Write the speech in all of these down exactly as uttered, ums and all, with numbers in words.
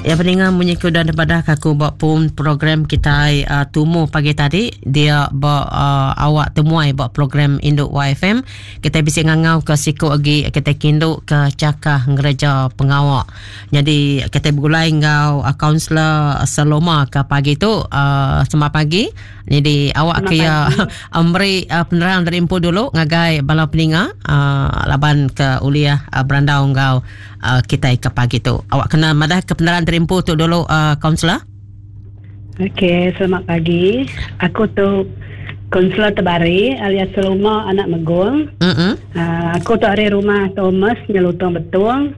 Ya peninga munyi ke udah dipadah ke aku ba pun program kita uh, tumu pagi tadi dia ba uh, awak temuai ba program Induk Y F M kita bisa ngangau ke siku lagi kita kindu ke cakah ngereja pengawak. Jadi kita bergulai ngau kaunselor Saloma ke pagi tu uh, selamat pagi. Jadi awak ke ya memberi uh, penerang dari empu dulu ngagai bala peninga uh, laban ke uliah uh, berandau ngau uh, kita ke pagi tu. Awak kena madah ke penerang dari empu tu dulu kaunselor. Uh, Okey, selamat pagi. Aku tu kaunselor Tebari alias Saloma anak Megong. Mm-hmm. Uh, aku tu dari rumah Thomas Nyelutong Betung.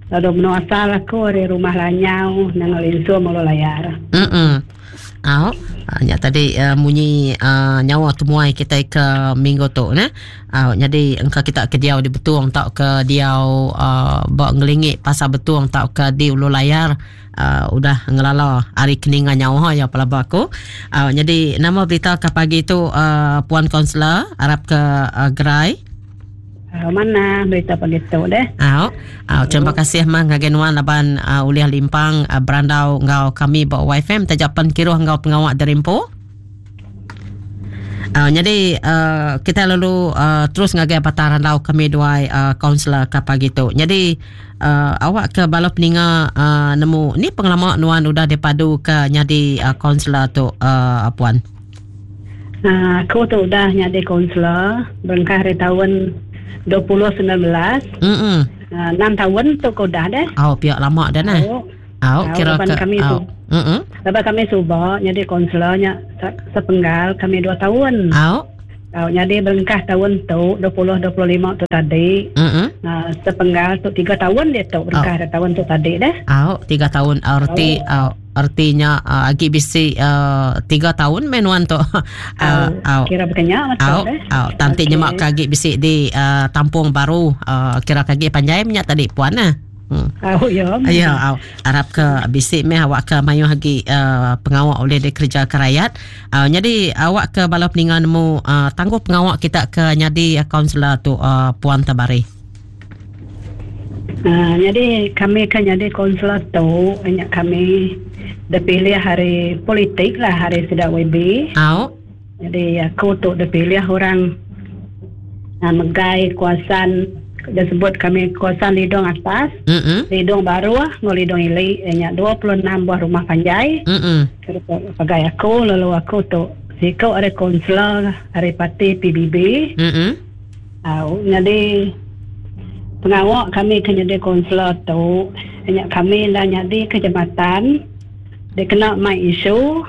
Lalu menua asal aku dari rumah Lanyau nang Linsu Mulu Layar. Mm-mm. Au, uh, tadi uh, munyi uh, nyawa temuai kita ke minggu tu ne. Uh, jadi engka kita ke diau di Betung tau ke diau uh, ba ngelingi pasar Betung tau ke di Ulu Layar uh, udah ngelala hari keninga nyawa ya pelaba aku. Uh, jadi nama berita ke pagi tu uh, puan kaunselor harap ke uh, gerai. Uh, mana berita pagi tu deh? Au, uh, terima kasih mah ngagai nuan laban uh, uliah limpang uh, berandau ngau kami ba Y F M tajapan kiruh ngau pengawak derimpo. Uh, jadi uh, kita lalu uh, terus ngagai pataran lau kami duai kaunselor uh, ke pagi tu. Jadi uh, awak ke bala peninga uh, nemu ni pengalaman nuan udah dipadu ke nyadi kaunselor uh, tu uh, puan. Uh, aku tu udah nyadi kaunselor berengkah hari tahun dua ribu sembilan belas. Mm-mm. Uh, enam tahun tu kau dah deh. Oh, pihak lama dah nah. Oh, oh kira ke kami oh. Mm-mm. Lepas kami subak jadi kaunselornya sepenggal kami dua tahun. Oh. Oh, jadi berengkah tahun tu dua puluh dua puluh lima tu tadi. Mm-mm. Uh, sepenggal tu tiga tahun dia tu berengkah oh. tahun tu tadi deh. Oh, tiga tahun arti oh. Oh, artinya uh, agi bisi uh, tiga tahun menuan tu. Uh, oh, kira berkenyak betul deh. Oh, tanti okay. Nyemak kagi bisi di uh, tampung baru uh, kira kagi panjai minyak tadi puan nah. Hmm. Oh ya. Ya, oh, harap ke bisik meh awak ke mayuh lagi uh, pengawak oleh di kerja ke rakyat. Uh, jadi awak ke bala peninga nemu uh, tangguh pengawak kita ke nyadi kaunselor tu uh, puan Tabari. Uh, jadi kami kan jadi kaunselor tu banyak kami dipilih hari politik lah hari sedak W B. Oh. Jadi aku tu dipilih orang uh, megai kuasaan dia sebut kami kawasan Lidong atas, mm-hmm. Lidong baru, ngau Lidong ili, nya dua puluh enam buah rumah panjai. Mm-hmm. Pagai aku, lalu aku tu sikau ada kaunselor hari parti P B B. Mm-hmm. Uh, jadi pengawak kami kena jadi kaunselor tu, nya kami dah jadi ke jabatan, dia kena mai isu.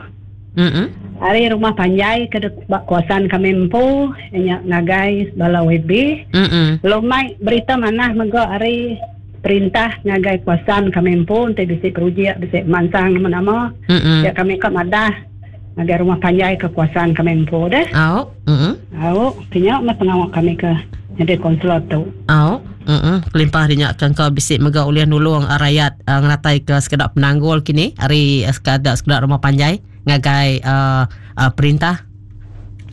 Mm-hmm. Hari rumah panjai ke kawasan kami empu nya ngagai bala W B. Mm-mm. Lumai berita mana mega hari perintah ngagai kawasan kami empu nanti bisi projek bisi mansang nama-nama. Mm-mm. Ya kami ke madah ngagai rumah panjai ke kawasan kami empu deh. Au. Mm-mm. Au, tinyak mah pengawak kami ke jadi kaunselor tu. Au. Mm-mm. Kelimpah dia kan kau bisi mega uliah nulung rakyat uh, ngeratai ke sekedak penanggul kini hari uh, sekedak sekedak rumah panjai ngagai uh, uh, perintah.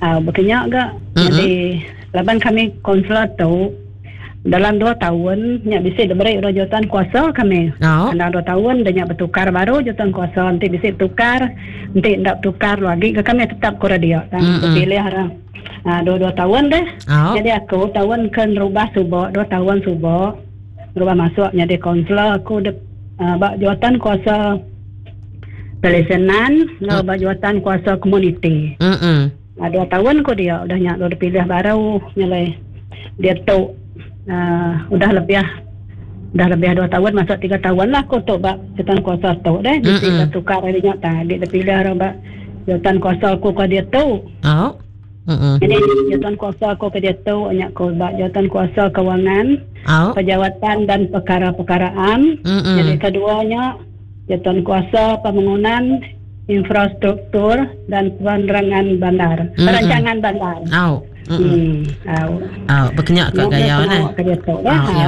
Ah uh, berkenyak gak. Mm-hmm. Jadi laban kami kaunselor tu dalam dua tahun nyak bisi diberi jawatan kuasa kami. Oh. Dalam dua tahun dia nyak bertukar baru jawatan kuasa nanti bisi bertukar nanti ndak bertukar lagi ke kami tetap kura dia. Mm-hmm. Terpilih orang. Ah dua-dua tahun deh. Oh. Jadi aku tahun ke rubah subak dua tahun subak rubah masuk jadi kaunselor aku de, uh, bak jawatan kuasa pelesenan lalu mm. bak jawatan kuasa komuniti. Mm-mm. Uh, dua tahun ku dia udah nyak udah pilih baru nyalai dia tu uh, udah lebih udah lebih dua tahun masuk tiga tahun lah aku tu bak jawatan kuasa tu deh. Jadi Mm-mm. tukar hari nyak tadi dia pilih orang bak jawatan kuasa aku ke dia tu. Oh. Mm-mm. Jadi jawatan kuasa aku ke dia tu banyak aku bak jawatan kuasa kewangan, oh. pejawatan dan perkara-perkaraan. Mm-mm. Jadi keduanya jawatan kuasa pembangunan infrastruktur dan penerangan bandar, Mm-mm. perancangan bandar. Oh. Hmm. Au. Au, berkenyak ke gaya ne.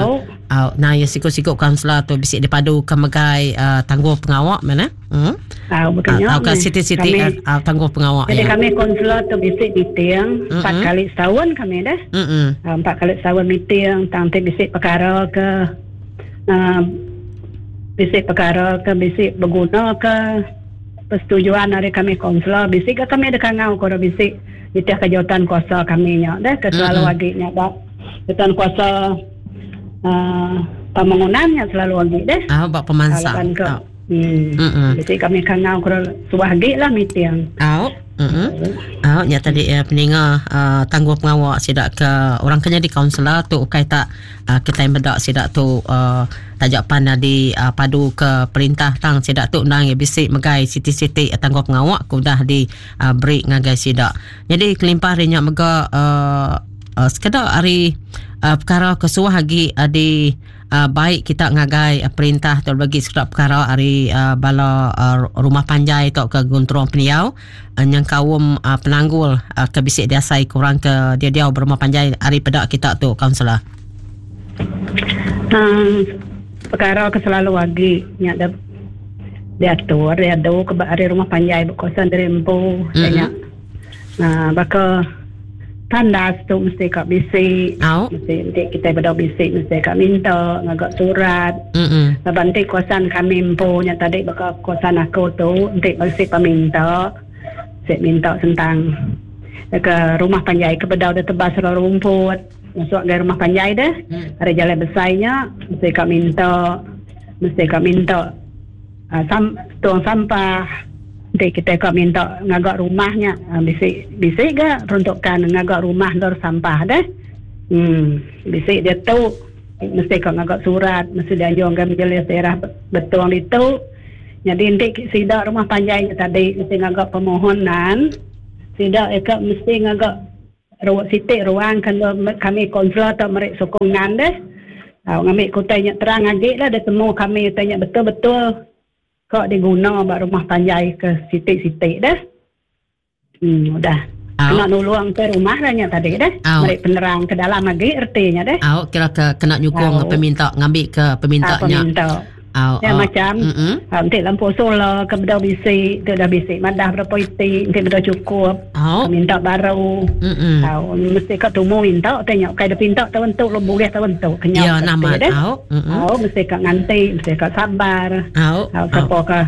Au. Au, nah ya sikut-sikut kaunselor tu bisik dipadu ke megai uh, tangguh pengawak mana? Hmm. Au, berkenyak. Au ke siti-siti uh, tangguh pengawak. Jadi ya. Kami kaunselor tu bisik meeting mm-hmm. empat kali setahun kami dah. Mm-mm. Uh, empat kali setahun meeting tang te bisik perkara ke uh, Bisi perkara ke bisi berguna ke persetujuan dari kami kaunselor, bisi ke kami dekat ngau ke bisi nitih ke jawatan kuasa kami nya deh ke selalu mm-hmm. agi nya ba jawatan kuasa uh, pembangunannya selalu agi deh. Ah, ba pemansang. Oh. Hmm. Mm-hmm. Bisi kami kangau ke suah agi lah meeting. Oh. Mm-hmm. Oh, nya tadi eh, peninga uh, tangguh pengawak sidak ke orang kena di kaunselor tu ukai tak uh, kita medak sidak tu uh, tajak pan di uh, padu ke perintah tang sidak tu nang bisi megai siti-siti tangguh pengawak ku dah di uh, beri ngagai sidak. Jadi kelimpah hari nya mega uh, uh, sekedar hari uh, perkara kesuah lagi uh, di Uh, baik kita ngagai uh, perintah atau bagi sekedar perkara hari uh, bala uh, rumah panjai atau ke gunturang peniau uh, yang kaum uh, penanggul uh, ke bisik diasai kurang ke dia dia berumah panjai hari pedak kita tu kaunselor. Hmm, perkara ke selalu lagi nya ada diatur dia do ke hari rumah panjai berkawasan dari empu mm-hmm. Nah, baka tandas tu mesti kat bisi. Oh. Mesti nanti kita berdua bisi mesti kat minta ngagak surat. Mm-mm. Sebab nanti kawasan kami empunya tadi baka kawasan aku tu nanti mesti peminta. Saya minta tentang ke rumah panjai ke bedau dah tebas rumput. Masuk ke rumah panjai dah. Mm. Ada jalan besarnya mesti kat minta. Mesti kat minta uh, sam, tuang sampah. Nanti kita kau minta ngagak rumahnya bisi bisi ke peruntukan ngagak rumah dor sampah deh. Hmm, bisi dia tu mesti kau ngagak surat, mesti dianjung ke majlis daerah betul itu. Jadi nanti sidak rumah panjai tadi mesti ngagak permohonan. Sidak eka mesti ngagak ruang sitik ruang kan kami konsul atau merek sokongan deh. Ha, ngambil kutainya terang lagi lah dia temu kami tanya betul-betul kok diguna buat rumah panjai ke sitik-sitik dah. Hmm, udah. Au. Kena nuluang ke rumah dah nya tadi dah. Au. Mereka penerang ke dalam lagi ertinya dah. Au, kira ke kena nyukung Au. peminta ngambil ke peminta Ah, nya. peminta. Au. Ya, au. macam Mm-mm. ah, nanti lampu solar ke bedau bisi, tu dah bisi madah berapa iti, nanti bedau cukup. Au. Minta baru. Mm-mm. Au, mesti kat tumu minta tanya kai dah pinta tahun tu lo boleh tahun tu kenyang. Ya, nama. Dah. Au. Mm-mm. Au, mesti kat nganti, mesti kat sabar. Au. Au, siapa ke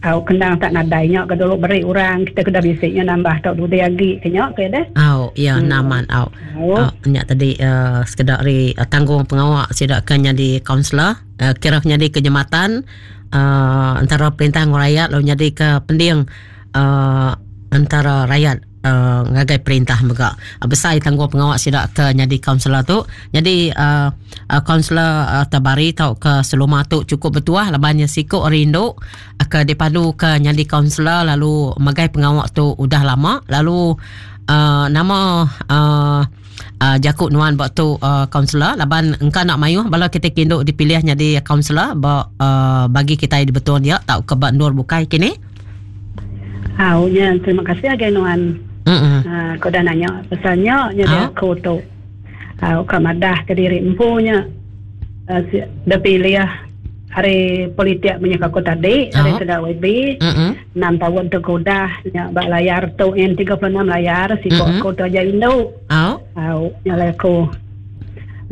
au kendang tak nadainya ke dulu beri orang kita kena bisiknya nambah tak dulu lagi kenyak ke dah. Au, ya Hmm. naman au. Au. Au, nyak tadi uh, sekedar ri uh, tanggung pengawak sidak ke jadi kaunselor, uh, kira jadi kejematan uh, antara perintah dengan rakyat lalu jadi ke pending uh, antara rakyat uh, ngagai perintah mega. Uh, besar tanggung pengawak sidak ke jadi kaunselor tu. Jadi uh, uh, kaunselor uh, tabari tau ke seluma tu cukup bertuah labannya sikok rindu uh, ke dipadu ke jadi kaunselor lalu magai pengawak tu udah lama lalu uh, nama uh, uh, Jakub Nuan buat tu uh, kaunselor laban engkau nak mayuh bala kita kinduk dipilih jadi kaunselor ba, uh, bagi kita di betul dia tau ke bak nur bukai kini. Au nya terima kasih agai Nuan. Mm-mm. Ha, kau dah nanya pasalnya nya dia Ah. aku tu. Ha, kau madah ke diri empunya. Uh, dah pilih hari politik punya aku tadi, hari Ah. sudah W B. Mm-mm. enam tahun tu kau dah nya bak layar tu yang tiga puluh enam layar siko Mm-mm. aku tu aja induk. Au. Au nya lah aku.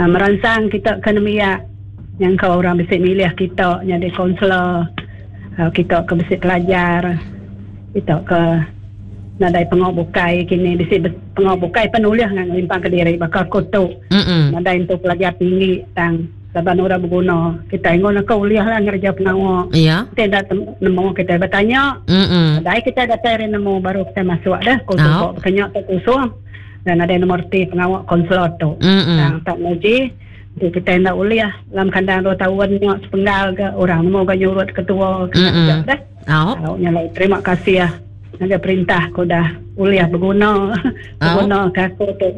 Nah, merangsang kita ke nemiak yang kau orang bisik milih kita jadi kaunselor. Uh, kita ke bisik pelajar. Kita ke nadai pengok bukai kini bisik pengok bukai penulis dengan limpang ke diri bakal aku tu. Mm-mm. Nadai untuk pelajar tinggi tang laban orang berguna. Kita ingon aku uliah lah ngerja pengawak. Ya. Kita dah tem- nemu kita bertanya. Mm-mm. Dai kita datang hari nemu baru kita masuk dah. Kau Oh. tu kenyak tak kosong. Dan ada nombor T pengawak konselor tu. Mm-mm. Tang tak muji. Jadi kita nak uliah dalam kandang dua tahun nyok sepenggal ke orang nemu ke nyurut ketua ke Mm-mm. dah. Au. Au nya lai terima kasih ya. Ada perintah aku dah uliah berguna. Berguna ke aku tu.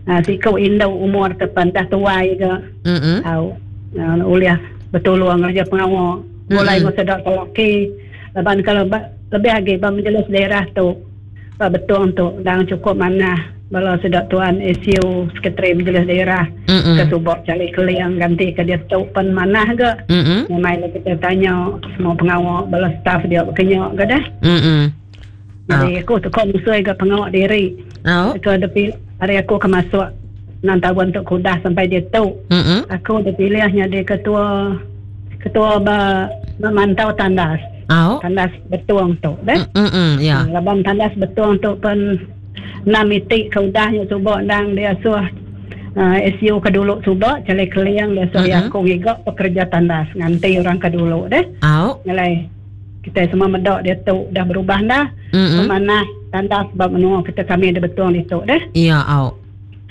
Ha, siko indau umur tepan dah tuai ke. Mm-mm. Au uh, uliah bertolong kerja pengawak. Mulai Mm-mm. mm-hmm. sedap lelaki. Laban kalau ba, lebih lagi ba majlis daerah tu. Ba betul tu dang cukup mana bala sedap tuan S U sekretari majlis daerah Mm-mm. ke subok cari keliang ganti ke dia tu pen manah ke. Mm-mm. Memang kita tanya semua pengawak bala staff dia berkenyak ke dah. Mm-mm. Jadi aku tu kau musuh ke pengawak diri. Au. Aku ada pilih hari aku ke masuk enam tahun untuk kudah sampai dia tu. Mm-mm. Aku dipilihnya dia ketua ketua ba memantau tandas. Au. Tandas Betong tu deh. Mm mm ya. Laban tandas Betong tu pen enam iti ke udah nya suba endang dia suah uh, S U ke dulu suba cale keliang dia suah mm-hmm. aku ngiga pekerja tandas nganti orang ke dulu deh. Au. Ngalai kita semua medak dia tu dah berubah dah. Mm-hmm. Pemanah tandas bab menua kita kami ada Betong itu deh. Ya, au.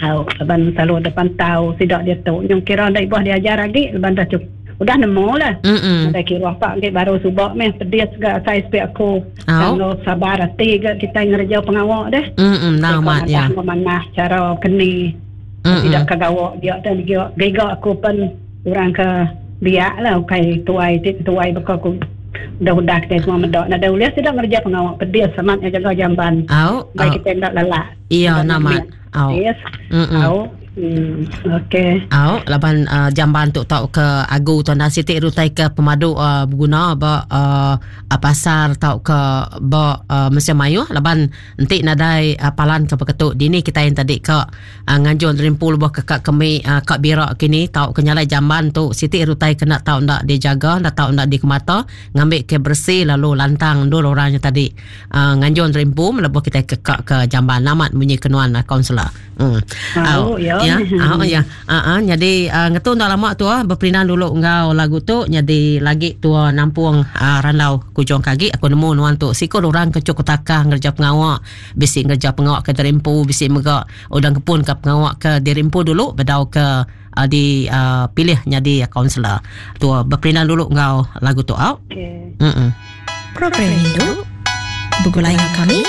Au, laban selalu depan tahu sidak dia tu. Yang kira ndak ibuh diajar lagi laban dah cukup udah nemu lah. Mm-mm. Ada kira apa lagi baru subak meh pedis ga saya sepik aku. Kalau sabar hati ga kita ngerja pengawak deh. Mm-mm, namat ya. Memanah cara keni. Mm-mm. Tidak kagawak dia dan giga, giga aku pun orang ke biak lah ukai tuai tuai beka aku. Udah-udah kita semua medok. Nak ada uliah tidak ngerja pengawak pedis semat yang jaga jamban. Au. Baik kita tidak lelak. Iya, namat. Au. Yes. Au. Hmm, okey. Au, laban uh, jamban tu tau ke agu tuan dan siti rutai ke pemadu uh, berguna ba uh, pasar tau ke ba uh, mesin mayuh laban entik nadai uh, palan ke peketuk dini kita yang tadi ke uh, nganjur rimpul buah ke kak kemi uh, kak birak kini tau ke nyalai jamban tu siti rutai kena tau ndak dijaga ndak tau ndak dikemata ngambil ke bersih lalu lantang dulu orangnya tadi uh, nganjur rimpul melebuh kita ke kak ke jamban namat bunyi kenuan uh, kaunselor. Hmm. Au, ya. Ya, ah ya. Ah uh, jadi uh, ngetu ndak lama tu ah berperindan dulu ngau lagu tu jadi lagi tua nampung uh, randau kujung kagi aku nemu nuan tu siko orang kecuk ketakah ngerja pengawak bisi ngerja pengawak ke terimpu bisi mega udang kepun ke pengawak ke dirimpu dulu bedau ke uh, di uh, pilih jadi kaunselor. Tua berperindan dulu ngau lagu tu au. Okey. Mm. Program Indu begulai kami.